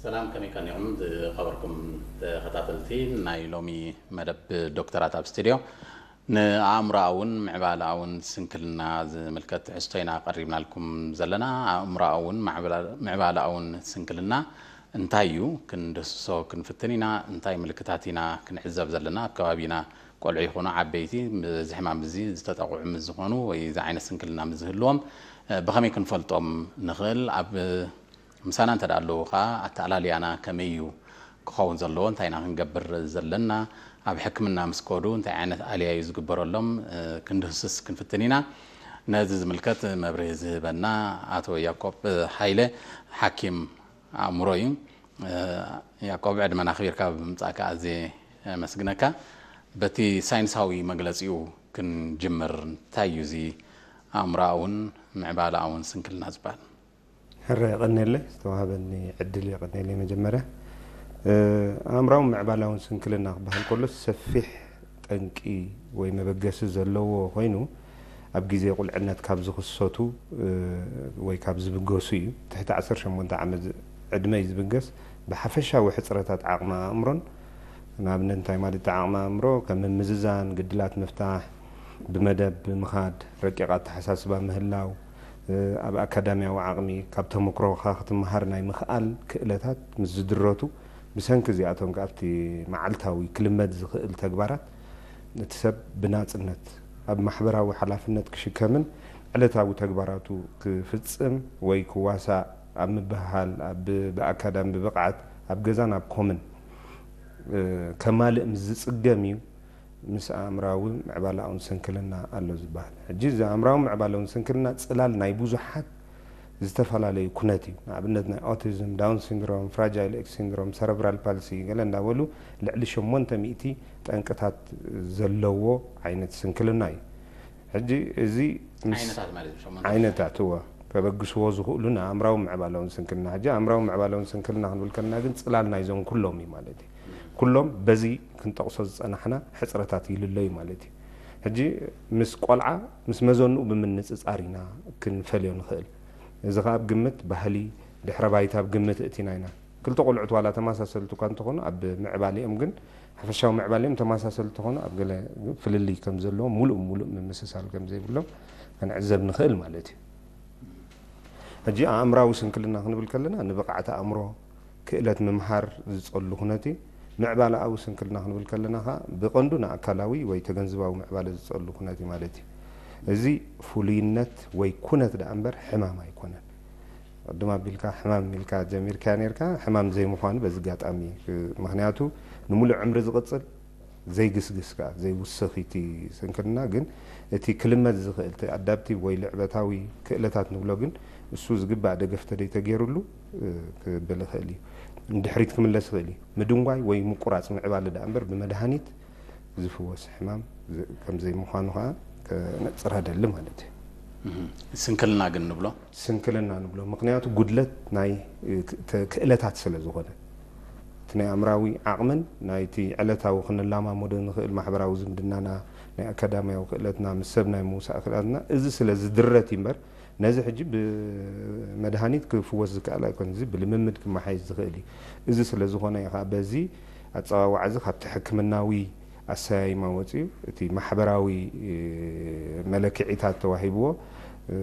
ሰላም፣ ከመይ ቀኒኹም ዝኸበርኩም ተኸታተልቲ ናይ ሎሚ መደብ ዶክተራት ኣብ ስቱድዮ? ንኣእምሮኣውን ምዕባለኣውን ስንክልና ዝምልከት ትሕዝቶ ኢና ቀሪብናልኩም ዘለና። ኣእምሮኣውን ማዕበላ-፣ ምዕባለኣውን ስንክልና እንታይ እዩ? ክንድህስሶ ክንፍትን ኢና። እንታይ ምልክታት ኢና ክንዕዘብ ዘለና? ኣብ ከባቢና ቆልዑ ይኹኑ ዓበይቲ፣ እዚ ሕማም እዚ ዝተጠቕዑ ምስ ዝኾኑ ወይ እዚ ዓይነት ስንክልና ምስ ዝህልዎም፣ እ፣ ብኸመይ ክንፈልጦም ንኽእል? ኣብ ምሳና እንተ ደኣ ኣለዉ ኸኣ፣ ኣተኣላልያና ከመይ እዩ ክኸውን ዘለዎ? እንታይ ኢና ክንገብር ዘለና? ኣብ ሕክምና ምስ ከዱ እንታይ ዓይነት ኣልያ እዩ ዝግበረሎም? እ፣ ክንድህስስ ክንፍትን ኢና። ነዚ ዝምልከት መብርሂ ዝህበና ኣቶ ያዕቆብ ሃይለ፣ ሓኪም ኣእምሮ እዩ። እ፣ ያዕቆብ፣ ዕድመና ኣኽቢርካ ብምምጻእካ ኣዝየ የመስግነካ። በቲ ሳይንሳዊ መግለጺኡ ክንጅምር፣ እንታይ እዩ እዚ ኣእምሮኣውን ምዕባለኣውን ስንክልና ዝበሃል? ሕረ የቐንየለይ፣ ዝተዋህበኒ ዕድል የቐንየለይ። መጀመርያ፣ እ፣ ኣእምራውን ምዕባላውን ስንክልና ክበሃል ከሎ ሰፊሕ ጠንቂ ወይ መበገሲ ዘለዎ ኮይኑ፣ ኣብ ግዜ ቁልዕነት ካብ ዝኽሰቱ፣ እ፣ ወይ ካብ ዝብገሱ እዩ። ትሕቲ ዓሰርተ ሸሞንተ ዓመት ዕድመ እዩ ዝብገስ። ብሓፈሻዊ ሕጽረታት ዓቕሚ ኣእምሮን፣ ንኣብነት እንታይ ማለት እዩ? ዓቕሚ ኣእምሮ ከም ምምዝዛን፣ ግድላት ምፍታሕ፣ ብመደብ ብምኻድ፣ ረቂቕ ኣተሓሳስባ ምህላው፣ እ፣ ኣብ ኣካዳሚያዊ ዓቕሚ ካብ ተመክሮኻ ክትመሃር ናይ ምኽኣል ክእለታት ምስ ዝድረቱ፣ ብሰንኪ እዚኣቶም ከኣ ኣብቲ መዓልታዊ ክልመድ ዝኽእል ተግባራት እቲ ሰብ ብናጽነት ኣብ ማሕበራዊ ሓላፍነት ክሽከምን ዕለታዊ ተግባራቱ ክፍጽም ወይ ክዋሳእ ኣብ ምብህሃል፣ ኣብ፣ ብኣካዳሚ ብብቕዓት ኣብ ገዛን ኣብ ኮምን፣ እ፣ ከማልእ ምስ ዝጽገም እዩ ምስ ኣእምራዊ ምዕባላውን ስንክልና ኣሎ ዝበሃል። ሕጂ እዚ ኣእምራዊ ምዕባላውን ስንክልና ጽላል ናይ ብዙሓት ዝተፈላለዩ ኩነት እዩ። ንኣብነት ናይ ኦቲዝም፣ ዳውን ሲንድሮም፣ ፍራጃይል ኤክስ ሲንድሮም፣ ሰረብራል ፓልሲ ገለ እንዳበሉ ልዕሊ ሸሞንተ ሚእቲ ጠንቅታት ዘለዎ ዓይነት ስንክልና እዩ። ሕጂ እዚ ምስ ዓይነታት ማለት እዩ፣ ሸሞንተ ዓይነት። ዓይነታት፣ እወ፣ ከበግስዎ ዝኽእሉ ንኣእምራዊ ምዕባላውን ስንክልና። ሕጂ ኣእምራዊ ምዕባላውን ስንክልና ክንብል ከለና ግን ጽላል ናይዞም ኩሎም እዩ ማለት እዩ። ኩሎም በዚ ክንጠቕሶ ዝጸናሕና ሕጽረታት ይልለዩ ማለት እዩ። ሕጂ ምስ ቆልዓ ምስ መዘንኡ ብምንጽጻር ኢና ክንፈልዮ ንኽእል። እዚ ኸኣ ኣብ ግምት ባህሊ፣ ድሕረ ባይታ ኣብ ግምት እቲና ኢና። ክልተ ቆልዑት ዋላ ተመሳሰልቲ እኳ እንተኾኑ፣ ኣብ ምዕባሌኦም ግን፣ ሓፈሻዊ ምዕባሌኦም ተመሳሰልቲ እንተኾኑ፣ ኣብ ገለ ፍልልይ ከም ዘለዎም፣ ሙሉእ ሙሉእ ምምስሳል ከም ዘይብሎም ክንዕዘብ ንኽእል ማለት እዩ። ሕጂ ኣእምራዊ ስንክልና ክንብል ከለና፣ ንብቕዓት ኣእምሮ፣ ክእለት ምምሃር ዝጸሉ ኩነት እዩ። ምዕባለኣዊ ስንክልና ክንብል ከለና ኸኣ፣ ብቐንዱ ንኣካላዊ ወይ ተገንዝባዊ ምዕባለ ዝጸሉ ኩነት እዩ ማለት እዩ። እዚ ፍሉይነት ወይ ኩነት ደኣ እምበር ሕማም ኣይኮነን። ቅድም ኣቢልካ ሕማም ኢልካ ጀሚርካ ኔርካ፣ ሕማም ዘይምዃኑ በዚ ኣጋጣሚ፣ ምኽንያቱ ንምሉእ ዕምሪ ዝቕጽል ዘይግስግስ ከኣ ዘይውስኽ እቲ ስንክልና፣ ግን እቲ ክልመድ ዝኽእል እቲ ኣዳፕቲቭ ወይ ልዕበታዊ ክእለታት ንብሎ፣ ግን እሱ ዝግባእ ደገፍ ተደይተገይሩሉ፣ እ፣ ክብል ይኽእል እዩ። ንድሕሪት ክምለስ ይኽእል እዩ። ምድንጓይ ወይ ምቁራጽ ምዕባለ ደኣ እምበር ብመድሃኒት ዝፍወስ ሕማም ዝ-፣ ከም ዘይምዃኑ ከኣ ከነጽር ኣደሊ ማለት እዩ። እህ፣ ስንክልና ግን ንብሎ? ስንክልና ንብሎ፣ ምኽንያቱ ጉድለት ናይ፣ እ፣ ክ-፣ ተ-፣ ክእለታት ስለ ዝኾነ፣ እቲ ናይ ኣእምራዊ ዓቕምን ናይቲ ዕለታዊ ክንላማመዶ ንኽእል ማሕበራዊ ዝምድናና፣ ናይ ኣካዳሚያዊ ክእለትና፣ ምስ ሰብ ናይ ምውሳእ ክእለትና፣ እዚ ስለ ዝድረት እዩ እምበር፣ ነዚ ሕጂ ብመድሃኒት ክፍወስ ዝከኣል ኣይኮነን። እዚ ብልምምድ ክመሓየሽ ዝኽእል እዩ። እዚ ስለ ዝኾነ እዩ ከኣ በዚ ኣጸዋውዓ እዚ ካብቲ ሕክምናዊ ኣሰያይማ ወጺኡ፣ እቲ ማሕበራዊ፣ እ፣ መለክዒታት ተዋሂብዎ፣ እ፣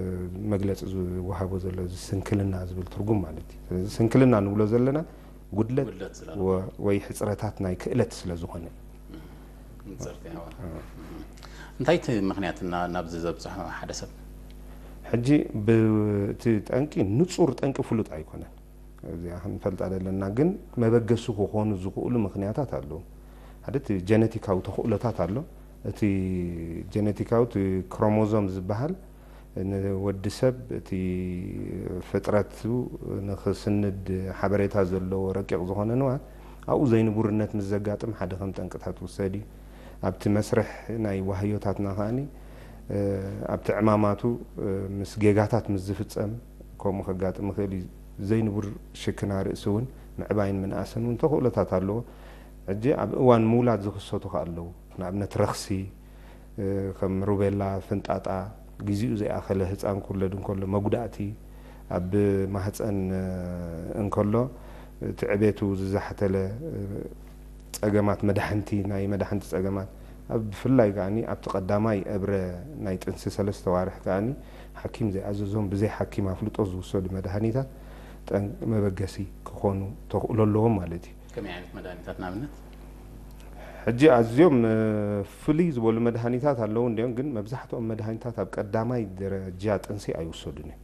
መግለጺ ዝወሃቦ ዘሎ፣ እዚ ስንክልና ዝብል ትርጉም ማለት እዩ። ስለዚ ስንክልና ንብሎ ዘለና ጉድለት ጉድለት ስለ ወ-፣ ወይ ሕጽረታት ናይ ክእለት ስለ ዝኾነ እዩ። ንጸርቲ ኣዋ። እ። እንታይ እቲ ምኽንያት እና-፣ ናብዚ ዘብጽሖ ሓደ ሰብ? ሕጂ ብ-፣ እቲ ጠንቂ፣ ንጹር ጠንቂ ፍሉጥ ኣይኮነን። እዚኣ ክንፈልጣ ዘለና፣ ግን መበገሲ ክኾኑ ዝኽእሉ ምኽንያታት ኣለዉ። ሓደ እቲ ጀነቲካዊ ተኽእሎታት ኣሎ። እቲ ጀነቲካዊ፣ እቲ ክሮሞዞም ዝበሃል፣ ንወዲ ሰብ እቲ ፍጥረቱ ንኽስንድ ሓበሬታ ዘለዎ ረቂቕ ዝኾነ ንዋት፣ ኣብኡ ዘይንቡርነት ምስ ዘጋጥም ሓደ ከም ጠንቅታት ውሰድ እዩ። ኣብቲ መስርሕ ናይ ዋህዮታትና ከኣኒ፣ እ፣ ኣብቲ ዕማማቱ፣ እ፣ ምስ ጌጋታት ምስ ዝፍጸም ከምኡ ከጋጥም ይኽእል እዩ። ዘይንቡር ሽክና ርእሲ እውን ምዕባይን ምንኣስን እውን ተኽእሎታት ኣለዎ። ሕጂ ኣብ እዋን ምውላድ ዝኽሰቱ ከኣ ኣለዉ። ንኣብነት ረኽሲ፣ እ፣ ከም ሩቤላ፣ ፍንጣጣ፣ ግዜኡ ዘይኣኸለ ህጻን ክውለድ እንከሎ መጉዳእቲ፣ ኣብ ማህጸን፣ እ፣ እንከሎ እቲ ዕቤቱ ዝዛሕተለ፣ እ፣ ጸገማት መዳሕንቲ፣ ናይ መዳሕንቲ ጸገማት፣ ኣብ ብፍላይ ከኣኒ ኣብቲ ቀዳማይ እብረ ናይ ጥንሲ ሰለስተ ዋርሕ ከኣኒ ሓኪም ዘይኣዘዞም ብዘይ ሓኪም ኣፍልጦ ዝውሰዱ መድሃኒታት ጠን-፣ መበገሲ ክኾኑ ተኽእሎ ኣለዎም ማለት እዩ። ከመይ ዓይነት መድሃኒታት ንኣብነት? ሕጂ ኣዝዮም፣ እ፣ ፍልይ ዝበሉ መድሃኒታት ኣለዉ እንድዮም፣ ግን መብዛሕትኦም መድሃኒታት ኣብ ቀዳማይ ደረጃ ጥንሲ ኣይውሰዱን እዮም።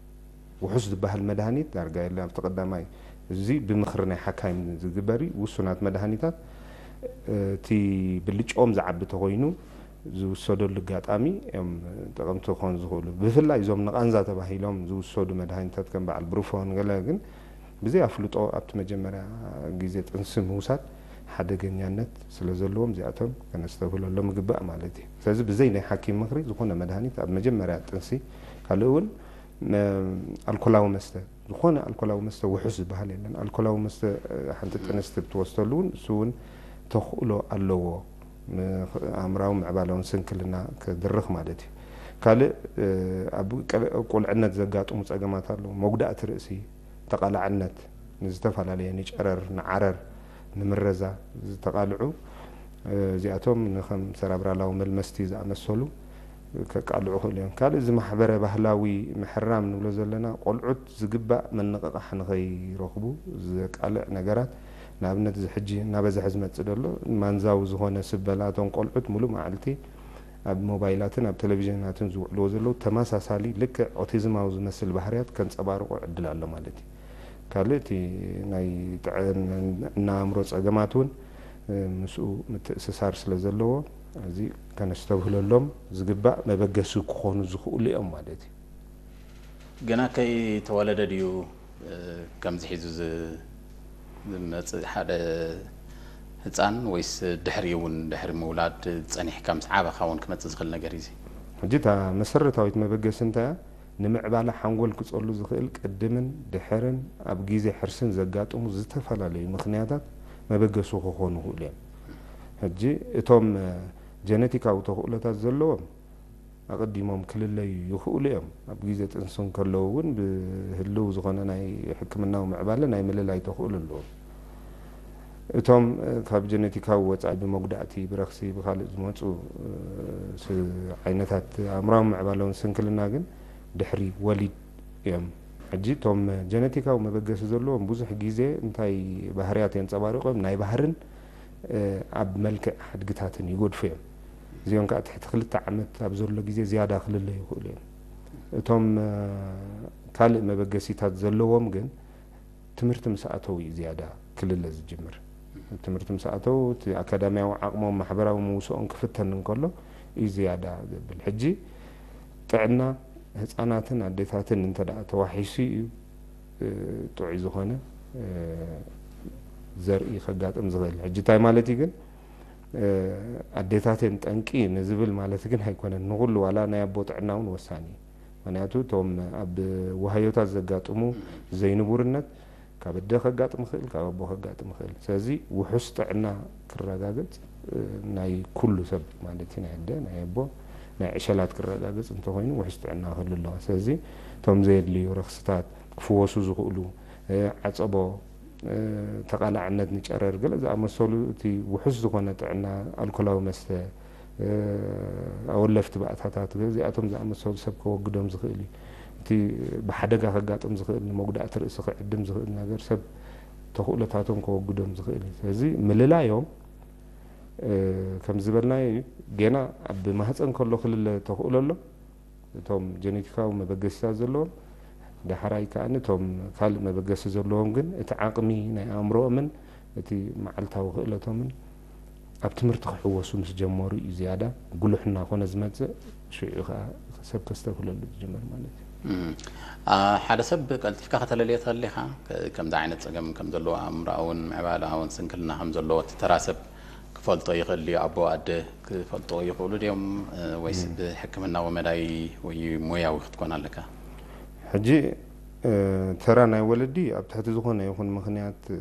ውሑስ ዝበሃል መድሃኒት ዳርጋ የለን ኣብቲ ቀዳማይ። እዚ ብምኽሪ ናይ ሓካይም ዝግበር እዩ። ውሱናት መድሃኒታት፣ እ፣ እቲ ብልጭኦም ዝዓቢ ተኾይኑ ዝውሰደሉ ኣጋጣሚ እዮም ጠቐምቲ ክኾኑ ዝኽእሉ። ብፍላይ እዞም ንቓንዛ ተባሂሎም ዝውሰዱ መድሃኒታት ከም በዓል ብሩፎን ገለ ግን ብዘይ ኣፍልጦ ኣብቲ መጀመርያ ግዜ ጥንሲ ምውሳድ ሓደገኛነት ስለ ዘለዎም እዚኣቶም ከነስተብህለሎም ይግባእ ማለት እዩ። ስለዚ ብዘይ ናይ ሓኪም ምኽሪ ዝኾነ መድሃኒት ኣብ መጀመርያ ጥንሲ፣ ካልእ እውን፣ እ፣ ኣልኮላዊ መስተ፣ ዝኾነ ኣልኮላዊ መስተ ውሑስ ዝበሃል የለን። ኣልኮላዊ መስተ፣ እ፣ ሓንቲ ጥንስቲ ብትወስደሉ እውን እሱ እውን ተኽእሎ ኣለዎ። ም-፣ ኣእምራዊ ምዕባለውን ስንክልና ክድርኽ ማለት እዩ። ካልእ፣ እ፣ ኣብ ቀ-፣ ቁልዕነት ዘጋጥሙ ጸገማት ኣለዉ። መጉዳእቲ ርእሲ፣ ተቓላዕነት፣ ንዝተፈላለየ ንጨረር፣ ንዓረር፣ ንምረዛ ዝተቓልዑ፣ እ፣ እዚኣቶም ንኸም ሰራብራላዊ መልመስቲ ዝኣመሰሉ ከቃልዑ ይኽእሉ እዮም። ካልእ እዚ ማሕበረ ባህላዊ ምሕራም ንብሎ ዘለና፣ ቆልዑት ዝግባእ ምንቕቓሕ ንኸይረኽቡ ዘቃልዕ ነገራት፣ ንኣብነት እዚ ሕጂ እናበዝሐ ዝመጽእ ዘሎ ማንዛዊ ዝኾነ ስበላ፣ እቶም ቆልዑት ሙሉእ መዓልቲ ኣብ ሞባይላትን ኣብ ቴሌቪዥናትን ዝውዕልዎ ዘለዉ ተመሳሳሊ ልክዕ ኦቲዝማዊ ዝመስል ባህርያት ከንጸባርቑ ዕድል ኣሎ ማለት እዩ። ካልእ እቲ ናይ ጥዕና ኣእምሮ ጸገማት እውን፣ እ፣ ምስኡ ምትእስሳር ስለ ዘለዎ፣ እዚ ከነስተብህለሎም ዝግባእ መበገሲ ክኾኑ ዝኽእሉ እዮም ማለት እዩ። ገና ከይተወለደ ድዩ፣ እ፣ ከምዚ ሒዙ ዝ-፣ ዝመጽእ ሓደ ህጻን፣ ወይስ ድሕሪ እውን፣ ድሕሪ ምውላድ ጸኒሕካ ምስ ዓበኻ እውን ክመጽእ ዝኽእል ነገር እዩ እዚ? ሕጂ እታ መሰረታዊት መበገሲ እንታይ እያ? ንምዕባለ ሓንጎል ክጸሉ ዝኽእል ቅድምን ድሕርን ኣብ ግዜ ሕርስን ዘጋጥሙ ዝተፈላለዩ ምኽንያታት መበገሲ ክኾኑ ይኽእሉ እዮም። ሕጂ እቶም፣ እ፣ ጀነቲካዊ ተኽእሎታት ዘለዎም ኣቐዲሞም ክልለዩ ይኽእሉ እዮም። ኣብ ግዜ ጥንሲ እንከለዉ እውን ብህልው ዝኾነ ናይ ሕክምናዊ ምዕባለ ናይ ምልላይ ተኽእሎ ኣለዎም። እቶም፣ እ፣ ካብ ጀነቲካዊ ወጻኢ ብመጉዳእቲ፣ ብረኽሲ፣ ብኻልእ ዝመጹ፣ እ፣ ስ-፣ ዓይነታት ኣእምራዊ ምዕባለውን ስንክልና ግን ድሕሪ ወሊድ እዮም። ሕጂ እቶም ጀነቲካዊ መበገሲ ዘለዎም ብዙሕ ግዜ እንታይ ባህርያት የንጸባርቑ እዮም? ናይ ባህርን፣ እ፣ ኣብ መልክዕ ሓድግታትን ይጎድፉ እዮም። እዚኦም ከኣ ትሕቲ ክልተ ዓመት ኣብ ዘሎ ግዜ ዝያዳ ክልለዩ ይኽእሉ እዮም። እቶም፣ እ፣ ካልእ መበገሲታት ዘለዎም ግን ትምህርቲ ምስ ኣተው እዩ ዝያዳ ክልለ ዝጅምር። ትምህርቲ ምስ ኣተው እቲ ኣካዳሚያዊ ዓቕሞም፣ ማሕበራዊ ምውስኦም ክፍተን እንከሎ እዩ ዝያዳ ዘብል። ሕጂ ጥዕና ህጻናትን ኣዴታትን እንተ ደኣ ተዋሒሱ እዩ፣ እ፣ ጥዑይ ዝኾነ፣ እ፣ ዘርኢ ከጋጥም ዝኽእል። ሕጂ እንታይ ማለት እዩ ግን፣ እ፣ ኣዴታት እየን ጠንቂ ንዝብል ማለት ግን ኣይኮነን። ንኹሉ ዋላ ናይ ኣቦ ጥዕና እውን ወሳኒ እዩ። ምኽንያቱ እቶም ኣብ ዋህዮታት ዘጋጥሙ ዘይንቡርነት ካብ ኣደ ከጋጥም ይኽእል፣ ካብ ኣቦ ከጋጥም ይኽእል። ስለዚ ውሑስ ጥዕና ክረጋገጽ፣ እ፣ ናይ ኩሉ ሰብ ማለት እዩ፣ ናይ ኣደ፣ ናይ ኣቦ፣ ናይ ዕሸላት ክረጋገጽ እንተኾይኑ ውሑስ ጥዕና ክህሉ ኣለዎ። ስለዚ እቶም ዘየድልዩ ረኽስታት ክፍወሱ ዝኽእሉ፣ እ፣ ዓጸቦ፣ እ፣ ተቓላዕነት ንጨረር ገለ ዝኣመሰሉ እቲ ውሑስ ዝኾነ ጥዕና ኣልኮላዊ መስተ፣ እ፣ ኣወለፍቲ ባእታታት እዚኣቶም ዝኣመሰሉ ሰብ ከወግዶም ዝኽእል እዩ። እቲ ብሓደጋ ከጋጥም ዝኽእል ንመጉዳእቲ ርእሲ ክዕድም ዝኽእል ነገር ሰብ ተኽእሎታቶም ከወግዶም ዝኽእል እዩ። ስለዚ ምልላዮም፣ እ፣ ከም ዝበልናዮ እዩ። ጌና ኣብ ማህፀን ከሎ ክልለ ተኽእሎ ኣሎ። እቶም ጀኔቲካዊ መበገሲታት ዘለዎም፣ ዳሕራይ ከኣ እቶም ካልእ መበገሲ ዘለዎም ግን እቲ ዓቕሚ ናይ ኣእምሮኦምን እቲ መዓልታዊ ክእለቶምን ኣብ ትምህርቲ ክሕወሱ ምስ ጀመሩ እዩ ዝያዳ ጉሉሕ እናኾነ ዝመጽእ። ሽዑ ከኣ ሰብ ከስተብህለሉ ዝጅምር ማለት እዩ። እም፣ አ፣ ሓደ ሰብ ቀልጢፍካ ከተለልዮ ተሊኻ፣ ከ-፣ ከምዚ ዓይነት ጸገም ከም ዘለዎ፣ ኣእምሮኣውን ምዕባለኣውን ስንክልና ከም ዘለዎ እቲ ተራ ሰብ ክፈልጦ ይኽእል ድዩ? ኣቦ ኣደ ክፈልጥዎ ይኽእሉ ድዮም? እ፣ ወይስ እም። ብሕክምናዊ መዳይ ወይ ሞያዊ ክትኮን ኣለካ? ሕጂ፣ እ፣ ተራ ናይ ወለዲ ኣብ ትሕቲ ዝኾነ ይኹን ምኽንያት፣ እ፣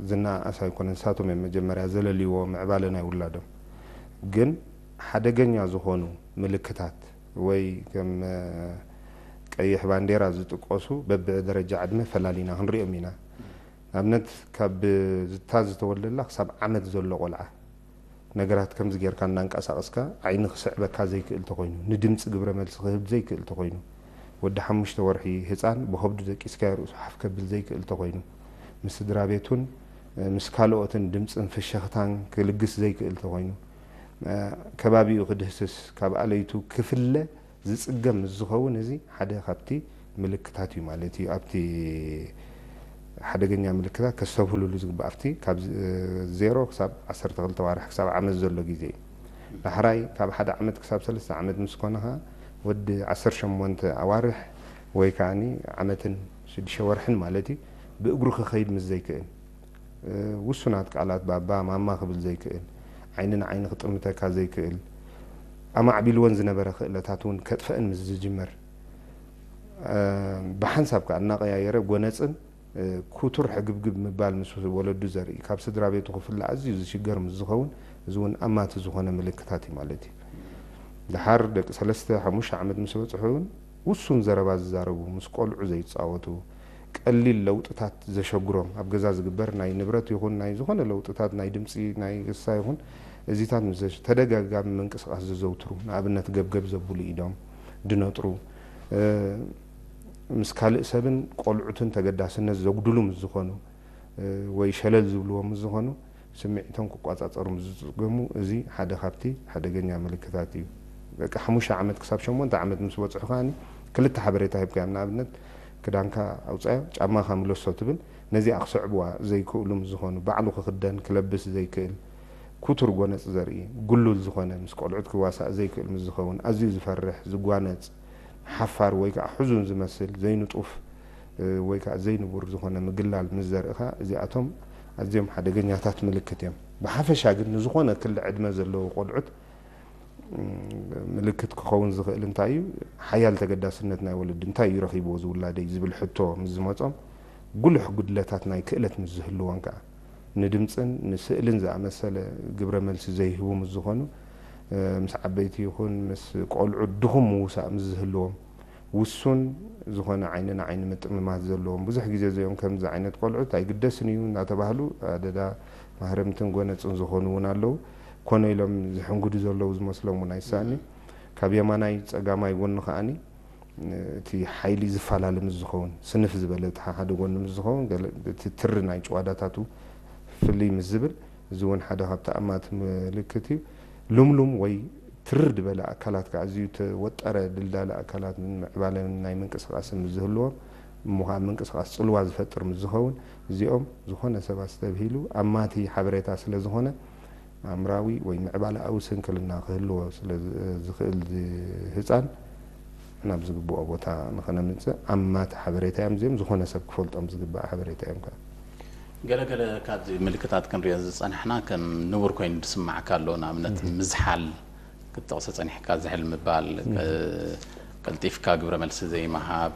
ዝነኣኣስ ኣይኮነን። ንሳቶም እዮም መጀመርያ ዘለልይዎ ምዕባለ ናይ ውላዶም። ግን ሓደገኛ ዝኾኑ ምልክታት ወይ ከም፣ እ፣ ቀይሕ ባንዴራ ዝጥቀሱ በብደረጃ ዕድመ ፈላሊና ክንሪኦም ኢና። ኣብነት ካብ ዝታ ዝተወለላ ክሳብ ዓመት ዘሎ ቆልዓ ነገራት ከምዚ ጌርካ እናንቀሳቐስካ ዓይኒ ክስዕበካ ዘይክእል ተኾይኑ፣ ንድምፂ ግብረ መልሲ ክህብ ዘይክእል ተኾይኑ፣ ወዲ ሓሙሽተ ወርሒ ህፃን ብኸብዱ ደቂስካዮ ርእሱ ሓፍ ከብል ዘይክእል ተኾይኑ፣ ምስ ስድራ ቤቱን ምስ ካልኦትን ድምፅን ፍሸኽታን ክልግስ ዘይክእል ተኾይኑ፣ ከባቢኡ ክድህስስ ካብ ኣለይቱ ክፍለ ዝፅገም ምስ ዝኸውን፣ እዚ ሓደ ካብቲ ምልክታት እዩ ማለት እዩ። ኣብቲ ሓደገኛ ምልክታት ከስተብህሉሉ ዝግባእ ኣብቲ ካብ ዜሮ ክሳብ ዓሰርተ ክልተ ዋርሕ ክሳብ ዓመት ዘሎ ግዜ እዩ። ዳሕራይ ካብ ሓደ ዓመት ክሳብ ሰለስተ ዓመት ምስ ኮነ ኸዓ ወዲ ዓሰርተ ሸሞንተ ኣዋርሕ ወይ ከዓኒ ዓመትን ሽዱሽተ ወርሕን ማለት እዩ፣ ብእግሩ ክኸይድ ምስ ዘይክእል፣ ውሱናት ቃላት ባባ ማማ ክብል ዘይክእል፣ ዓይኒ ንዓይኒ ክጥምተካ ዘይክእል፣ ኣማዕቢልወን ዝነበረ ክእለታት እውን ከጥፈአን ምስ ዝጅምር፣ ብሓንሳብ ከኣ እናቐያየረ ጎነጽን ኩቱር ሕግብግብ ምባል ምስ ወለዱ ዘርኢ፣ ካብ ስድራ ቤቱ ክፍለ ኣዝዩ ዝሽገር ምስ ዝኸውን፣ እዚ እውን ኣማቲ ዝኾነ ምልክታት እዩ ማለት እዩ። ደሓር ደቂ ሰለስተ ሓሙሽተ ዓመት ምስ በጽሑ እውን ውሱን ዘረባ ዝዛረቡ፣ ምስ ቆልዑ ዘይጻወቱ፣ ቀሊል ለውጥታት ዘሸግሮም፣ ኣብ ገዛ ዝግበር ናይ ንብረት ይኹን ናይ ዝኾነ ለውጥታት፣ ናይ ድምጺ፣ ናይ ገሳ ይኹን፣ እዚታት ምስ ዘሽ-፣ ተደጋጋሚ ምንቅስቓስ ዘዘውትሩ፣ ንኣብነት ገብገብ ዘብሉ ኢዶም፣ ድነጥሩ፣ እ፣ ምስ ካልእ ሰብን ቆልዑትን ተገዳስነት ዘጉድሉ ምስ ዝኾኑ፣ እ፣ ወይ ሸለል ዝብልዎ ምስ ዝኾኑ፣ ስምዒቶም ክቋጻጸሩ ምስ ዝጽገሙ፣ እዚ ሓደ ካብቲ ሓደገኛ ምልክታት እዩ። በቃ ሓሙሽተ ዓመት ክሳብ ሸሞንተ ዓመት ምስ በጽሑ ከኣኒ ክልተ ሓበሬታ ሂብካዮም። ንኣብነት፣ ክዳንካ ኣውጻዮ፣ ጫማኻ ምለሶ ትብል። ነዚኣ ክስዕብዋ ዘይክእሉ ምስ ዝኾኑ፣ ባዕሉ ክኽደን ክለብስ ዘይክእል፣ ኩቱር ጎነጽ ዘርኢ፣ ግሉል ዝኾነ፣ ምስ ቆልዑት ክዋሳእ ዘይክእል ምስ ዝኸውን፣ ኣዝዩ ዝፈርሕ፣ ዝጓነጽ፣ ሓፋር ወይ ከዓ ሕዙን ዝመስል፣ ዘይንጡፍ፣ እ፣ ወይ ከዓ ዘይንቡር ዝኾነ ምግላል ምስ ዘርእኻ፣ እዚኣቶም ኣዝዮም ሓደገኛታት ምልክት እዮም። ብሓፈሻ ግን ንዝኾነ ክሊ ዕድመ ዘለዉ ቆልዑት፣ ም፣ ምልክት ክኸውን ዝኽእል እንታይ እዩ? ሓያል ተገዳስነት ናይ ወለዲ፣ እንታይ እዩ ረኺብዎ ዝውላደይ ዝብል ሕቶ ምስ ዝመጾም፣ ጉሉሕ ጉድለታት ናይ ክእለት ምስ ዝህልዎም ከኣ፣ ንድምጽን ንስእልን ዝኣመሰለ ግብረ መልሲ ዘይህቡ ምስ ዝኾኑ፣ እ፣ ምስ ዓበይቲ ይኹን ምስ ቆልዑ ድኹም ምውሳእ ምስ ዝህልዎም፣ ውሱን ዝኾነ ዓይኒ ንዓይኒ ምጥምማት ዘለዎም። ብዙሕ ግዜ እዚኦም ከምዚ ዓይነት ቆልዑት ኣይግደስን እዩ እናተባህሉ ኣደዳ ማህረምትን ጎነጽን ዝኾኑ እውን ኣለዉ። ኮነ ኢሎም ዝሕንግዱ ዘለዉ ዝመስሎም እውን ኣይሳእን እዩ። ካብ የማናይ ጸጋማይ ጎኒ ከኣኒ እቲ ሓይሊ ዝፈላለ ምስ ዝኸውን፣ ስንፍ ዝበለ እቲ ሓደ ጎኒ ምስ ዝኸውን፣ ገለ እቲ ትሪ ናይ ጭዋዳታቱ ፍልይ ምስ ዝብል፣ እዚ እውን ሓደ ካብ ተኣማቲ ምልክት እዩ። ልምሉም ወይ ትርር ዝበለ ኣካላት ከዓ ኣዝዩ ተወጠረ ድልዳለ ኣካላት ምዕባለን ናይ ምንቅስቓስን ምስ ዝህልዎም፣ እሞ ከዓ ምንቅስቓስ ጽልዋ ዝፈጥር ምስ ዝኸውን፣ እዚኦም ዝኾነ ሰብ ኣስተብሂሉ ኣማቲ ሓበሬታ ስለ ዝኾነ፣ ኣእምራዊ ወይ ምዕባለኣዊ ስንክልና ክህልዎ ስለ ዝ-፣ ዝኽእል ዝ-፣ ህጻን ናብ ዝግብኦ ቦታ ንኸነምጽእ ኣማቲ ሓበሬታ እዮም። እዚኦም ዝኾነ ሰብ ክፈልጦም ዝግባእ ሓበሬታ እዮም ከኣ። ገለ ገለ ካብዚ ምልክታት ክንሪኦ ዝጸናሕና ከም ንቡር ኮይኑ ዝስማዓካ ኣሎ። ንኣብነት ምዝሓል ክትጠቕሶ ጸኒሕካ፣ ዝሕል ምባል፣ ቀልጢፍካ ግብረ መልሲ ዘይምሃብ።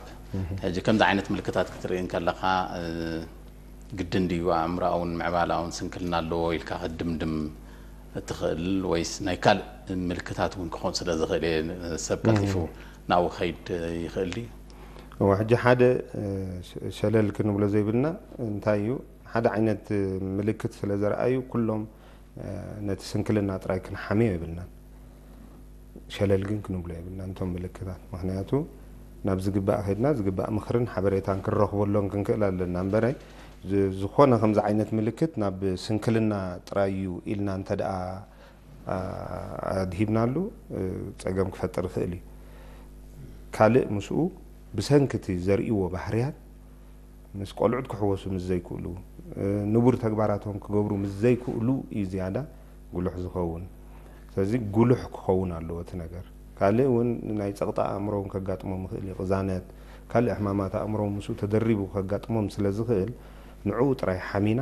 ሕጂ ከምዚ ዓይነት ምልክታት ክትርኢ እንከለኻ፣ እ፣ ግድን ድዩ ኣእምሮኣውን ምዕባለኣውን ስንክልና ኣለዎ ኢልካ ክትድምድም እትኽእል፣ ወይስ ናይ ካልእ ምልክታት እውን ክኸውን ስለ ዝኽእል እየ፣ ሰብ ቀልጢፉ ናብኡ ክኸይድ ይኽእል ድዩ? እወ፣ ሕጂ ሓደ፣ እ፣ ሸ-፣ ሸለል ክንብሎ ዘይብልና እንታይ እዩ? ሓደ ዓይነት ምልክት ስለ ዘርኣዩ ኩሎም፣ እ፣ ነቲ ስንክልና ጥራይ ክንሓምዮ የብልናን። ሸለል ግን ክንብሎ የብልናን እቶም ምልክታት። ምኽንያቱ ናብ ዝግባእ ከይድና ዝግባእ ምኽርን ሓበሬታን ክንረኽበሎም ክንክእል ኣለና። እምበረ ዝ-፣ ዝኾነ ከምዚ ዓይነት ምልክት ናብ ስንክልና ጥራይ እዩ ኢልና እንተ ደኣ፣ ኣ-፣ ኣድሂብናሉ፣ እ፣ ጸገም ክፈጥር ይኽእል እዩ። ካልእ ምስኡ ብሰንኪ እቲ ዘርእይዎ ባህርያት ምስ ቆልዑት ክሕወሱ ምስ ዘይክእሉ፣ እ፣ ንቡር ተግባራቶም ክገብሩ ምስ ዘይክእሉ እዩ ዝያዳ ጉሉሕ ዝኸውን። ስለዚ ጉሉሕ ክኸውን ኣለዎ እቲ ነገር። ካልእ እውን ናይ ጸቕጢ ኣእምሮ እውን ከጋጥሞም ይኽእል እዩ። ቅዛነት፣ ካልእ ሕማማት ኣእምሮ እውን ምስኡ ተደሪቡ ከጋጥሞም ስለ ዝኽእል፣ ንዕኡ ጥራይ ሓሚና፣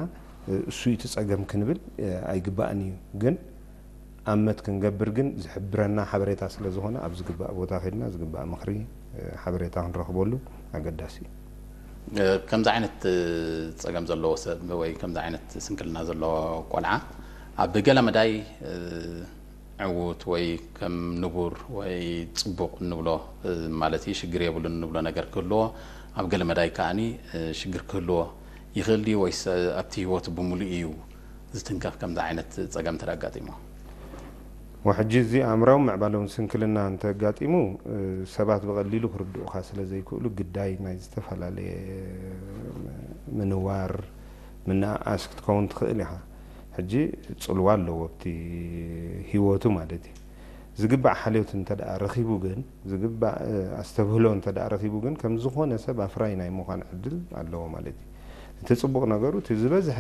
እ፣ እሱ እዩ እቲ ጸገም ክንብል፣ እ፣ ኣይግባእን እዩ። ግን ኣመት ክንገብር ግን ዝሕብረና ሓበሬታ ስለ ዝኾነ፣ ኣብ ዝግባእ ቦታ ከድና ዝግባእ ምኽሪ፣ እ፣ ሓበሬታ ክንረኽበሉ ኣገዳሲ እዩ። እ፣ ከምዚ ዓይነት፣ እ፣ ጸገም ዘለዎ ሰብ ወይ ከምዚ ዓይነት ስንክልና ዘለዎ ቆልዓ ኣብ ገለ መዳይ፣ እ፣ ዕዉት ወይ ከም ንቡር ወይ ጽቡቕ እንብሎ፣ እ፣ ማለት እዩ፣ ሽግር የብሉን እንብሎ ነገር ክህልዎ፣ ኣብ ገለ መዳይ ከኣኒ፣ እ፣ ሽግር ክህልዎ ይኽእል ድዩ ወይስ ኣብቲ ህይወቱ ብምሉእ እዩ ዝትንከፍ? ከምዚ ዓይነት ጸገም እንተ ኣጋጢሞ ወሕጂ እዚ ኣእምራዊ ምዕባለውን ስንክልና እንተጋጢሙ ሰባት ብቐሊሉ ክርድኡኻ ስለ ዘይክእሉ ግዳይ ናይ ዝተፈላለየ ምንዋር ምንኣኣስ ክትከውን ትኽእል ኢኻ። ሕጂ ጽልዋ ኣለዎ ኣብቲ ህይወቱ ማለት እዩ። ዝግባእ ሓልዮት እንተ ደኣ ረኺቡ ግን ዝግባእ ኣስተብህሎ እንተ ደኣ ረኺቡ ግን ከም ዝኾነ ሰብ ኣፍራይ ናይ ምዃን ዕድል ኣለዎ ማለት እዩ። እቲ ጽቡቕ ነገሩ እቲ ዝበዝሐ